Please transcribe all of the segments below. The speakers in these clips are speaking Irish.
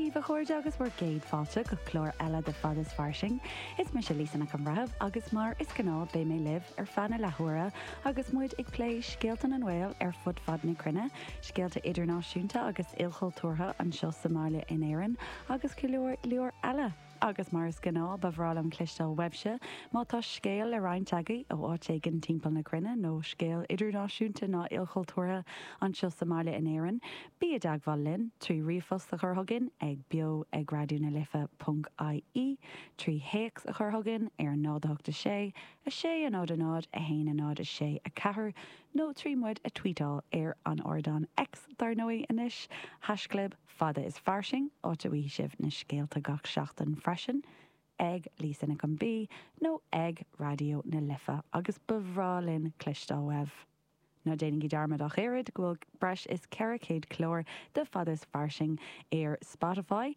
daoibh, a chairde, agus bhur gcéad fáilte go clár eile de Fad is Fairsing. Is mise Lisa Nic an Bhreithimh agus mar is gnáth beidh mé libh ar feadh na leathuaire agus muid ag plé scéalta na nGael ar fud fad na cruinne, scéalta idirnáisiúnta agus ilchultúrtha anseo sa mbaile in Éirinn agus go leor leor eile. Agus mar is gnáth, ba bhreá liom cloisteáil uaibhse má tá scéal le roinnt agaibh ó áit éigin timpeall na cruinne nó scéal idirnáisiúnta ná ilchultúrtha anseo sa mbaile in Éirinn. Bí i dteagmháil linn trí ríomhphost a chur chugainn ag beo ag raidió na life ponc ie, trí théacs a chur chugainn ar 0 8 6 6 0 0 1 0 6 4 nó trí muid a tweetáil ar an ardán X dar ndóigh anois, haischlib. Fada is Fairsing, áit a bhfaighidh sibh na scéalta gach seachtain freisin, ag Lisa Nic an B nó ag Raidió na Life agus ba bhreá linn cloisteáil uaibh. Ná déanaigí dearmad ach oiread go bhfuil breis is 400 clár de Fada is Fairsing ar Spotify,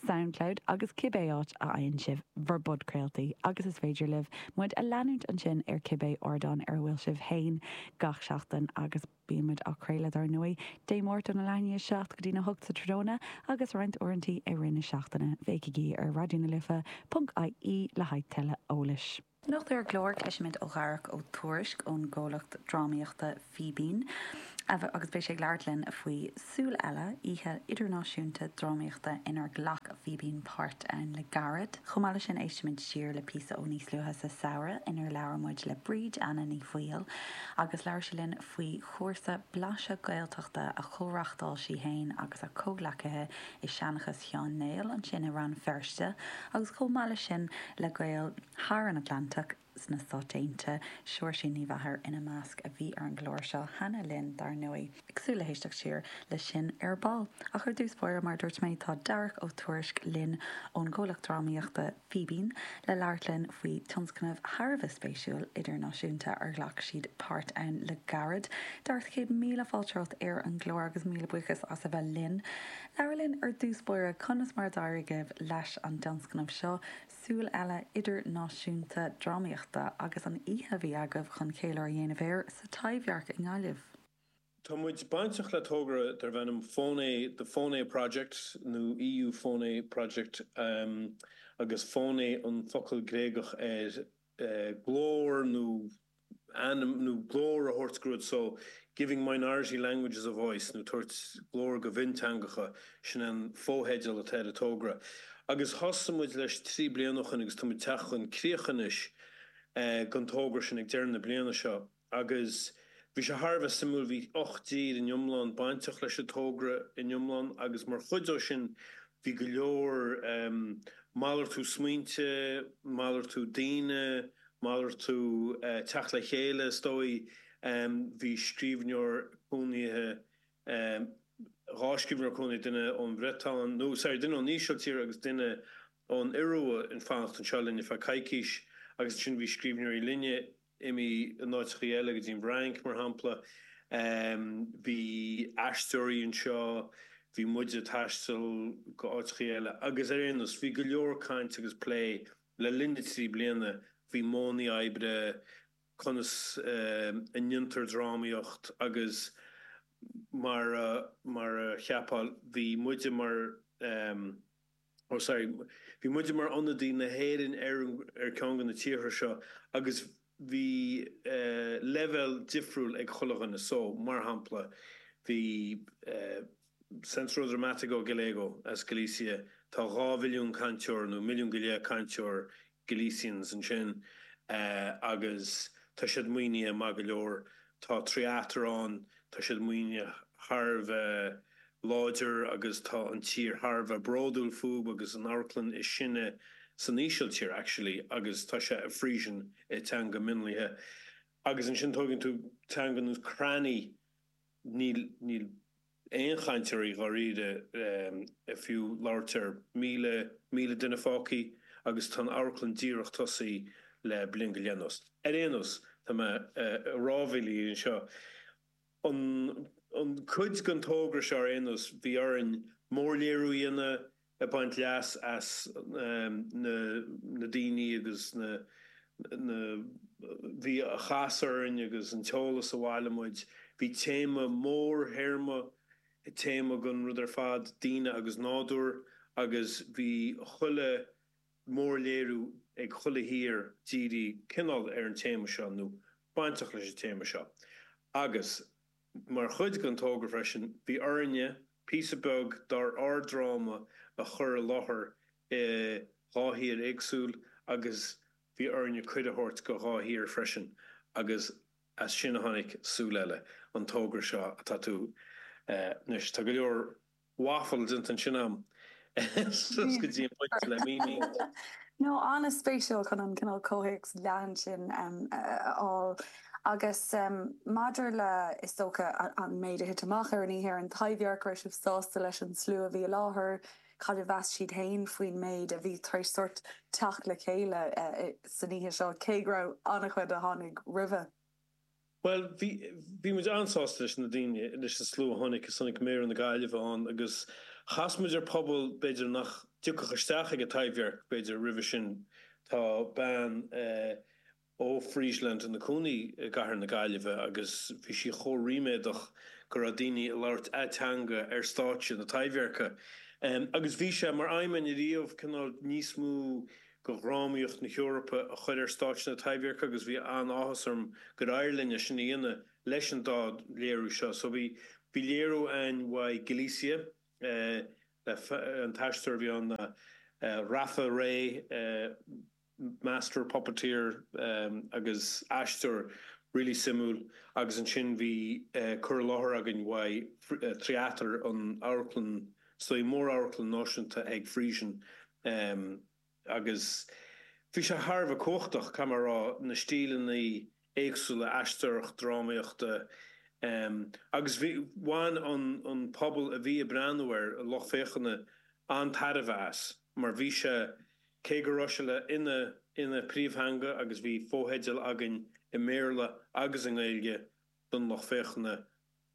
Soundcloud agus cibé áit a fhaigheann sibh bhur bpodchraoltaí agus is féidir libh muid a leanúint ansin ar cibé ardán ar a bhfuil sibh féin gach seachtain agus Bíonn muid á craoladh dar ndóigh, Dé Máirt óna leath i ndiaidh 7 go dtína 8 sa tráthnóna agus roinnt uaireantaí i rith na seachtaine. Féachaigí ar Raidió na Life ponc ie le haghaidh tuilleadh eolais. Anocht ar an gclár, cloisfimid ó Dharach Ó Tuairisg ón gcomhlacht drámaíochta Fíbín agus beidh sé ag labhairt linn faoi Súil Eile, oíche idirnáisiúnta drámaíochta inar ghlac Fíbín páirt ann le gairid. Chomh maith leis sin éistfimid siar le píosa ó níos luaithe sa samhradh inar labhair muid le Bríd Anna Ní Bhaoill agus labhair sí linn faoi chúrsa Blaiseadh Gaeltachta a chomhreachtáil sí fhéin agus a comhghleacaithe i Seanchas Sheáin Néill ansin i Rann Feirste agus chomh maith leis sin le Gaeil thar an Atlantach sna Stáit Aontaithe, Seoirsín Ní Mheachair ina measc a bhí ar an gclár seo cheana linn dar ndóigh. Ag súil le héisteacht siar leis sin ar ball. Ach ar dtús báire, mar a dúirt mé, tá Darach Ó Tuairisg linn ón gcomhlacht drámaíochta Fíbín le labhairt linn faoi tionscnamh thar a bheith spéisiúil idirnáisiúnta ar ghlac siad páirt ann le gairid. Darach, 100,000 fáilte romhat ar an gclár agus míle buíochas as a bheith linn. Labhair linn ar dtús báire, conas mar a d'éirigh libh leis an dtionscnamh seo, Súil Eile Idirnáisiúnta Drámaíochta, agus an oíche a bhí agaibh chun ceiliúradh a dhéanamh air sa Taibhdhearc i nGaillimh? Tá muid bainteach le togra darb ainm Fóné, The Fóné Project nó EU Fóné Project agus Fóné an focal Gréagach ar glór nó ainm nó glór a thabhairt go rud so Giving Minority Languages a Voice nó tabhairt glór go mhionteangacha, sin an fotheideal atá ar an togra. Agus thosaigh muid leis 3 bliana ó shin agus tá muid ag teacht chun críocha anois den togra sin ag deireadh na bliana seo. Agus bhí sé thar a bheith suimiúil, bhí 8 dtír in iomlán bainteach leis an togra in iomlán agus mar chuid dó sin bhí go leor malartú smaointe, malartú daoine, malartú teacht le chéile is dóigh. Bhí scríbhneoir cónaithe, 2 scríbhneoir cónaithe, duine ón Bhriotáin, nó sorry, duine ón Ísiltír agus duine ón Iorua ag fanacht anseo linn ar feadh coicís agus ansin bhí scríbhneoirí linne imithe in áiteachaí eile, go dtí an bhFrainc, mar shampla. Bhí aisteoirí anseo, bhí muide ag taisteal go áiteachaí eile agus ar aon nós, bhí go leor caint agus plé le linn na dtrí bliana faoi mhodhanna oibre, conas a ndéantar drámaíocht agus mar a, mar a cheapfá, bhí muide mar. oh sorry, bhí muide mar ionadaí na hÉireann ar ar ceann de na tíortha seo agus bhí leibhéal difriúil ag chuile dhuine. So, mar shampla, bhí Centro Dramático Galego as Galicia, tá 2 mhilliún cainteoir nó milliún go leith cainteoir Galicians ansin agus tá siad maoinithe maith go leor. Tá Theatre ann, tá siad maoinithe thar a bheith láidir agus tá an tír thar a bheith bródúil fúb agus an amharclann is sine san Ísiltír actually agus tá sé i Frisian i teanga mionlaithe. Agus ansin tógann tú teanga nós Krani, níl, níl aon chainteoirí dháiríre fiú labhairt ar 1,000, 1,000 duine fágthaí agus tá an amharclann díreach tosaí le bliain go leith anuas. Ar aon nós, tá mé ag rámhaíl anseo. An an cuid den togra seo ar aon nós, bhí orainn mórléiriú a dhéanamh, ag baint leas as na na daoine agus na na bhí a chas orainn agus an t-eolas a bhailigh muid. Bhí téama mórthéarma, téama den rud ar fad, daoine agus nádúr. agus bhí chuile mórléiriú ag chuile thír dírithe cineál ar an téama seo nó bainteach leis an téama seo. Agus mar chuid den togra freisin, bhí orainne píosa beag dár ár dráma a chur i láthair i dhá thír éagsúil agus bhí orainne cuireadh a thabhairt go dhá thír freisin agus as sin a tháinig Súil Eile, an togra seo atá tú anois. Tá go leor waffle déanta ansin a'm suas go dtí an pointe le míniú. No, an-spéisiúil chun an cineál comhthéacs leathan sin a fháil. Agus maidir le, is dócha, an méid a thit amach ar an oíche ar an Taibhdhearc, raibh sibh sásta leis an slua a bhí i láthair? Cad a mheas siad féin faoin méid a bhí tar éis sórt teacht le chéile san oíche seo, cé go raibh an-chuid a tháinig roimhe? Bhuel, bhí, bhí muid an-sásta leis na daoine, leis an slua a tháinig, is tháinig Méara na Gaillimhe ann agus chas muid ar pobal b'fhéidir nach dtiocfadh isteach ag an Taibhdhearc b'fhéidir roimhe sin. Tá bean ó Friesland ina cónaí i gcathair na Gaillimhe agus bhí sí chomh ríméadach go raibh daoine ag labhairt a teanga ar stáitse na Taibhdheirce. Agus bhí sé mar aidhm againn ariamh cineál níos mó de dhrámaíocht na hEorpa a chur ar stáitse na Taibhdheirce agus bhí an-áthas orm gur éirigh linn é sin a dhéanamh leis an dá léiriú seo. So bhí bhí léiriú againn uaidh Galicia le an t-aisteoir a bhí ann ná Rafa Rey, master puppeteer agus aisteoir really suimiúil agus ansin bhí cur i láthair againn uaidh Tryater an amharclann is dóigh mór-amharclann náisiúnta ag Frisian agus bhí sé thar a bheith cumhachtach, caithfidh mé a rá, na stíleanna éagsúla aisteoireacht, drámaíochta agus bhí, bhain an pobal a bhí ag breathnú air, an lucht féachana, an-tairbhe as mar bhí sé, cé go raibh sé le ina ina príomhtheanga agus bhí fotheidil againn i mBéarla agus i nGaeilge don lucht féachana.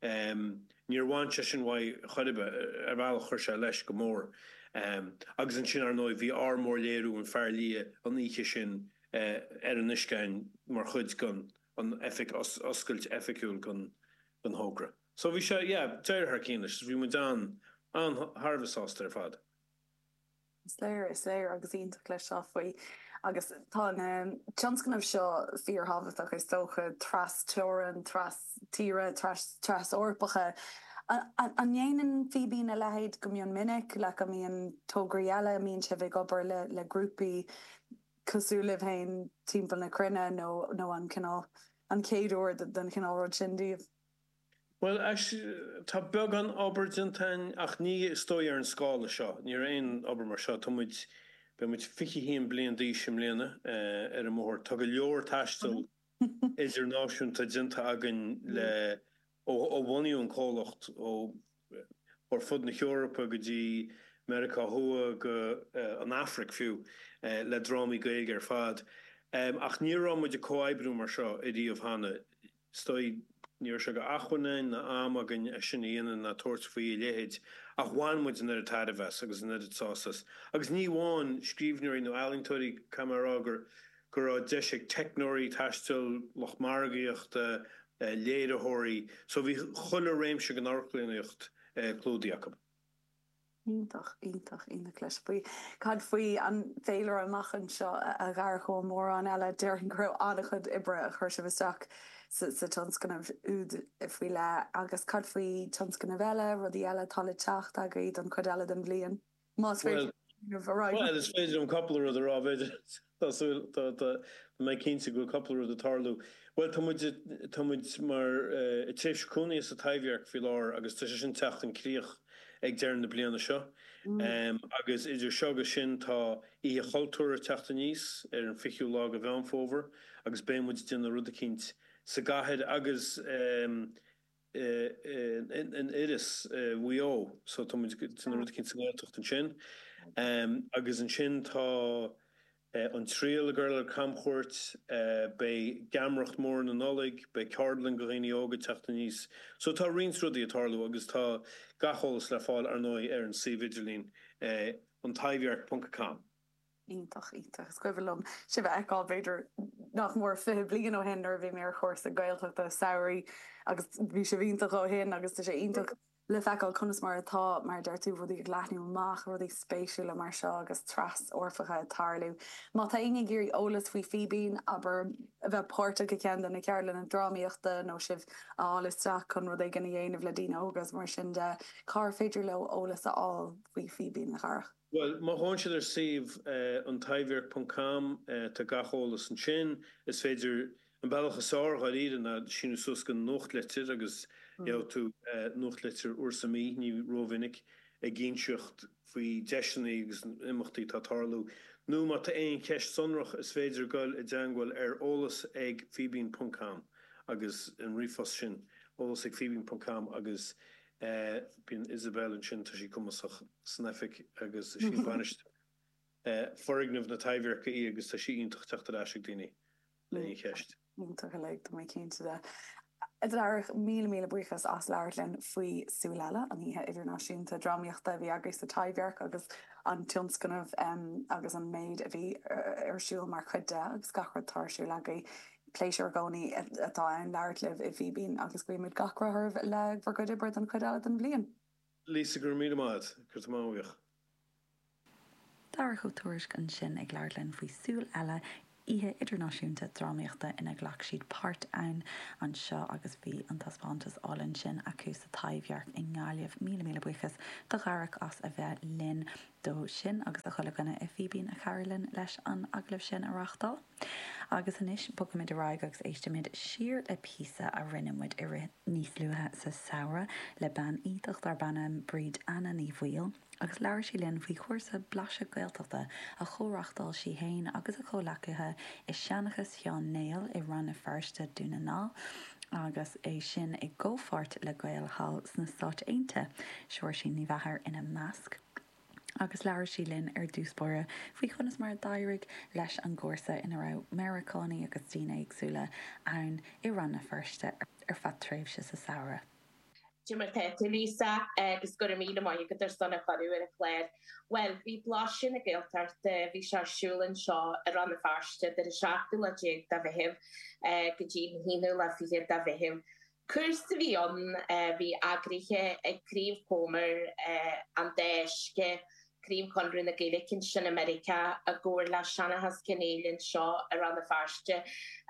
Níor bhain sé sin uaidh chor ar bith, ar bhealach chuir sé leis go mór. Agus ansin, ar ndóigh, bhí ár mórléiriú, An Fear Liath, an oíche sin ar an uisceáin mar chuid den an oifig, oscailt oifigiúil den thogra. So bhí sé, yeah, d'éirigh thar cionn leis. Bhí muid an, an, thar a bheith sásta ar fad. Is léir, is léir agus iontach cloisteáil faoi. Agus tá na tionscnaimh seo fíorthábhachtach is dócha, tras teorann, tras tíre, tras Eorpacha. An ndéanann Fíbín a leithéid go mion minic, like an mbíonn tograí eile, an mbíonn sibh ag obair le le grúpaí cosúil libh féin timpeall na cruinne nó nó an cineál an chéad uair den chineál rud sin daoibh? Bhuel, tá beagán obair déanta againn ach ní is dóigh ar an scála seo. Ní raibh aon obair mar seo. Tá muid, beidh muid 21 bliain d'aois i mbliana ar an mbóthar. Tá go leor taistil idirnáisiúnta déanta againn le, ó bunaíodh an comhlacht, ó ar fud na hEorpa go dtí Meiriceá Thuaidh go an Afraic fiú, le drámaí Gaeilge ar fad. Ach ní raibh muid ag comhoibriú mar seo ariamh cheana. Is dóigh, ní raibh sé d'acmhainn againn ná am againn é sin a dhéanamh ná tabhairt faoi a leithéid, ach bhain muid an oiread tairbhe as agus an oiread sásamh as. Agus ní amháin scríbhneoirí nó ealaíontóirí, caithfidh mé a rá gur go raibh deis ag teicneoirí taistil, lucht margaíochta, léiritheoirí, so bhí chuile réimse den amharclannaíocht clúdaithe acu. Iontach, iontach, iontach cloisteáil faoi. Cad faoi an féilire amach anseo a Dharach ó mórán eile? Déarfainn go raibh an-chuid oibre a chuir sibh isteach sa tionscnamh úd faoi leith. Agus cad faoi tionscnaimh eile, rudaí eile atá le teacht agaibh don chuid eile den bhliain? Más féidir a rá. Bhuel, is féidir liom cúpla rud a rá, b'fhéidir. Tá súil, tá, tá mé cinnte go bhfuil cúpla rud ag tarlú. Bhuel, tá muid, tá muid mar, i tréimhse cúnaithe sa Taibhdhearc faoi láthair agus tá sé sin teacht chun críoch ag deireadh na bliana seo. Agus idir seo agus sin tá Oíche Chultúir ag teacht aníos ar an 20ú lá de Mheán Fómhair agus beidh muid ag déanamh rud eicínt sa gcathair agus in Iorras i Mhaigh Eo so tá muid ag déanamh rud eicínt sa nGaeltacht ansin. Agus ansin tá An Triail ag dul ar camchuairt, beidh Geamaireacht Mhór na Nollag, beidh ceardlann do dhaoine óga ag teacht aníos. So tá roinnt rudaí ag tarlú agus tá gach eolas le fáil ar ndóigh ar an suíomh idirlín antaibhdhearc ponc com. Iontach, iontach. Is cuimhin liom sibh a fheiceáil b'fhéidir nach mór 20 bliain ó shin nuair a bhí mé ar chúrsa Gaeltachta samhraidh agus bhí sibh iontach ó shin agus tá sé iontach. Le feiceáil conas mar atá, mar a deir tú, rudaí ag leathnú amach, rudaí spéisiúla mar seo agus tras-Eorpacha ag tarlú. Má tá éinne ag iarraidh eolas faoi Fíbín, abair, a bheith páirteach i gceann de na ceardlanna drámaíochta nó sibh a fháil isteach chun rud éigin a dhéanamh le daoine óga is mar sin de, cár féidir leo eolas a fháil faoi Fíbín, a Dharach? Bhuel, má ghabhann siad ar suíomh an Taibhdhearc ponc com, tá gach eolas ansin. Is féidir An bealach is fearr dháiríre ná síniú suas don nuachtlitir agus gheobhaidh tú nuachtlitir uair sa mhí, ní rómhinic, ag inseacht faoi deiseanna agus imeachtaí atá ag tarlú. Nó má tá aon cheist sonrach is féidir goil i dteangmháil ar eolas ag fíbín ponc com agus an ríomhphost sin, eolas ag fíbín ponc com agus bíonn Isabel ansin, tá sí cumasach san oifig agus is í bainisteoir foirgneamh na Taibhdheirce í agus tá sí iontach teacht ar ais ag daoine le aon cheist. Iontach uilig, tá mé cinnte de. A Dharach, míle míle buíochas as labhairt linn faoi Súil Eile, an oíche idirnáisiúnta drámaíochta a bhí agaibh sa Taibhdhearc agus an tionscnamh agus an méid a bhí ar siúl mar chuid de agus gach rud atá ar siúl agaibh. Pléisiúr i gcónaí atá ann labhairt libh i bhFíbín agus guímid gach rath oraibh le bhur gcuid oibre don chuid eile den bhliain. Lisa, go raibh míle maith agat. Go raibh maith agat. Darach Ó Tuairisg ansin ag labhairt linn faoi Súil Eile, oíche idirnáisiúnta drámaíochta ina ghlac siad páirt ann anseo agus bhí an taispeántas álainn sin acu sa Taibhdhearc i nGaillimh. Míle míle buíochas do Dharach as a bheith linn dó sin agus do chuile dhuine i Fíbín a chabhraigh linn leis an agallamh sin a reáchtáil. Agus anois bogfaimid ar aghaidh agus éistfimid siar le píosa a rinne muid i rith níos luaithe sa samhradh le bean iontach darb ainm Bríd Anna Ní Bhaoill agus labhair sí linn faoi chúrsa Blaiseadh Gaeltachta a chomhreáchtáil sí fhéin agus a comhleacaithe i Seanchas Sheáin Néill i Rann na Feirste, Dún na nGall agus é sin i gcomhpháirt le Gaeil thall sna Stáit Aontaithe, Seoirsín Ní Mheachair ina measc. agus labhair sí linn ar dtús báire faoi chonas mar a d'éirigh leis an gcúrsa ina raibh Meiriceánaigh agus daoine éagsúla ann i Rann na Feirste ar feadh tréimhse sa samhradh. Cad é mar tá tú, Lisa, agus go raibh míle maith agat ar son an chuireadh ar an chlár. Bhuel, bhí Blaiseadh na Gaeltachta, bhí sé ar siúl anseo i Rann na Feirste idir an seachtú lá déag de Mheitheamh go dtí an haonú lá fichead de Mheitheamh. Cúrsa a bhí ann a bhí eagraithe ag Craobh Chomer an Dá Uisce, Craobh Chonradh na Gaeilge ansin i Meiriceá i gcomhar le Seanchas Cionn Éile anseo i Rann na Feirste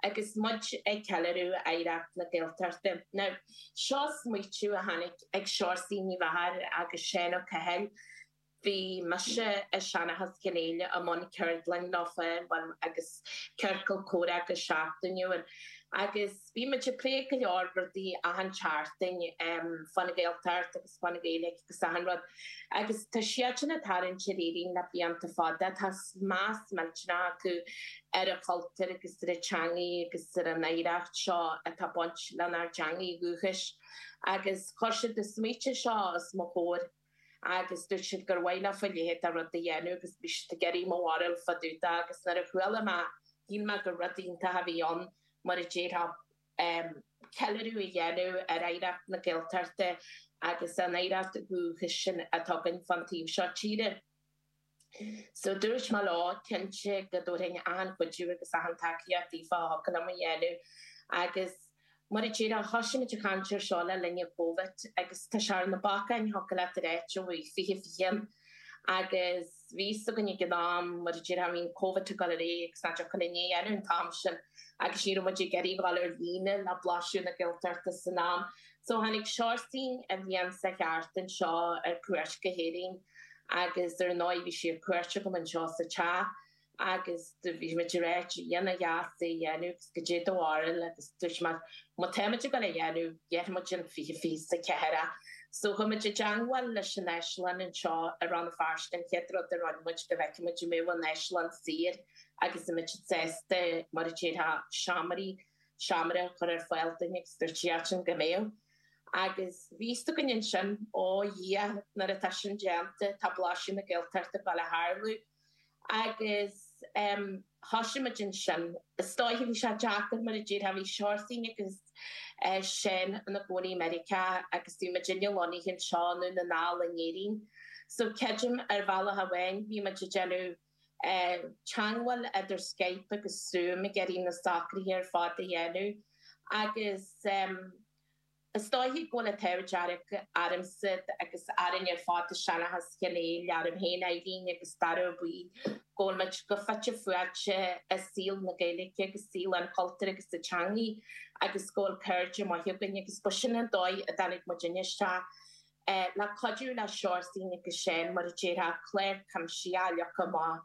agus muid ag ceiliúradh oidhreacht na Gaeltachta. Now, seo smaoitiú a tháinig ag Seoirsaí Ní Mheachair agus Seán Ó Cathail. Bhí mise i Seanchas Chionn Éile i mbun ceardlann leofa bhuel agus ciorcal comhrá go seachtainiúil agus bhí muid ag plé go leor rudaí achan tseachtain fán Ghaeltacht agus fán Ghaeilge agus achan rud agus tá siadsan ag tarraingt ar Éirinn le blianta fada, tá meas millteanach acu ar an chultúr agus ar an teangaidh agus ar an oidhreacht seo atá ag baint lenár dteangaidh dhúchais agus chuir siad an smaoitiú seo os mo chomhair. agus dúirt siad gur mhaith leofa a leithéid de rud a dhéanamh agus bhí siad ag iarraidh mo bharúil fá dtaobh de agus nuair a chuala mé shíl mé gur rud iontach a bhí ann mar a déarfá ceiliúradh a dhéanamh ar oidhreacht na Gaeltachta agus an oidhreacht dhúchais sin atá againn fán taobh seo tíre. So dúirt mé leo, cinnte go dtabharfainn achan chuidiú agus achan tacaíocht daofa a thiocfadh liom a dhéanamh agus mar a déarfá, thosaigh muid ag caint ar seo le linn an Covid agus tá sé ar na bacáin thiocfadh leat a ráit ó bhí 2020 ann agus bhí fhios againn ag an am mar a déarfá bhí an Covid ag dul ar aghaidh agus nach dtiocfadh linn é a dhéanamh an t-am sin agus ní raibh muid ag iarraidh dhul ar líne le blaiseadh na Gaeltachta san am. So tháinig Seoirsín an bhliain seo thart anseo ar cuairt go hÉirinn agus ar ndóigh bhí sí ar cuairt agam anseo sa teach agus do bhí muid ag ráit a Dhia nach deas é a dhéanamh agus goidé do bharúil agus dúirt mé má tá muid ag dul a dhéanamh dhéanfaidh muid in 2024 é. So chuaigh muid i dteangmháil leis an Áislann anseo i Rann na Feirste an chéad rud a rinne muid go bhfeicfeadh muid an mbeadh an Áislann saor agus an mbeadh siad sásta mar a déarfá seomraí seomra a chur ar fáil dúinn agus dúirt siadsan go mbeadh. Agus bhí fhios againn ansin, ó Dhia, nuair atá sin déanta, tá Blaiseadh na Gaeltachta ag dul a tharlú. Agus thosaigh muid ansin. Is dóiche bhí sé deacair mar a déarfá, bhí Seoirsín agus Seán ina gcónaí i Meiriceá agus bhí muidinne lonnaithe anseo i nDún na nGall in Éirinn. So creidim ar bhealach amháin bhí muid ag déanamh teangmháil idir Skype agus Zoom ag iarraidh na socruithe ar fad a dhéanamh agus. Is dóiche go bhfuil an t-ádh dearg ormsa agus orainn ar fad i Seanchas Chionn Éil, orm féin, Eileen agus Dara Ó Baoill, go bhfuil muid chomh fite fuaite i saol na Gaeilge agus saol an chultúir agus na teangaí agus go bhfuil cairde maithe againn agus ba sin an dóigh a dtáinig muidinne isteach le cuidiú le Seosaimhín agus Seán, mar a déarfá, clár cuimsitheach a leagadh amach.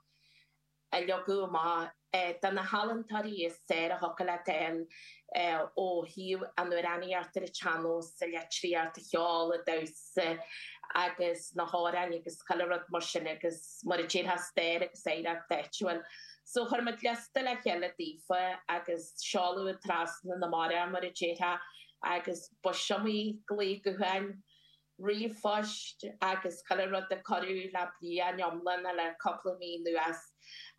a leagadh amach do na healaíontóirí is fearr a thiocfadh leat a fháil ó thaobh an amhránaíocht ar an tsean-nós, an litríocht, an cheol, an damhsa agus na hamhráin agus chuile rud mar sin agus mar a déarfá stair agus oidhreacht áitiúil. So chuir muid liosta le chéile daofa agus seoladh trasna na mara mar a déarfá agus b'iomaí glao gutháin ríomhphoist agus chuile rud a cuireadh le bliain iomlán nó le cúpla mí anuas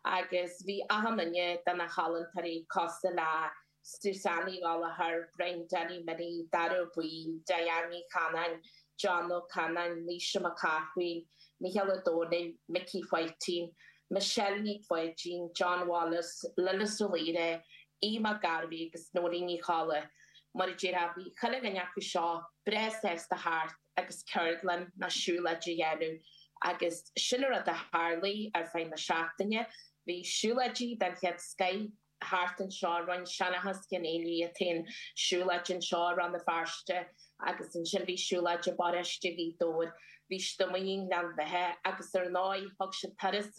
agus bhí achan duine de na healaíontóirí cosúil le Suzanne Ní Ghallchóir, Brian Danny Minnie, Dara Ó Baoill, Diane Ní Chanainn, John Ó Canainn, Naoise Mac Cathmhaoil, Mícheál Ó Domhnaill, Micí Pháitín, Michelle Nic Pháidín, John Wallace, Lillis Ó Laoire, Aodh Mac Gairbhí agus Nóirín Ní Cholla. Mar a déarfá, bhí chuile dhuine acu seo breá sásta theacht agus ceardlann nó siúlóid a dhéanamh agus sin an rud a tharlaigh ar feadh na seachtaine. Bhí siúlóidí den chéad scoith thart anseo, rinne Seanchas Chionn Éil iad féin siúlóid anseo i Rann na Feirste agus ansin bhí siúlóid i bparóiste Ghaoth Dobhair, bhí siad amuigh i nGleann Bheatha agus ar ndóigh thug siad turas.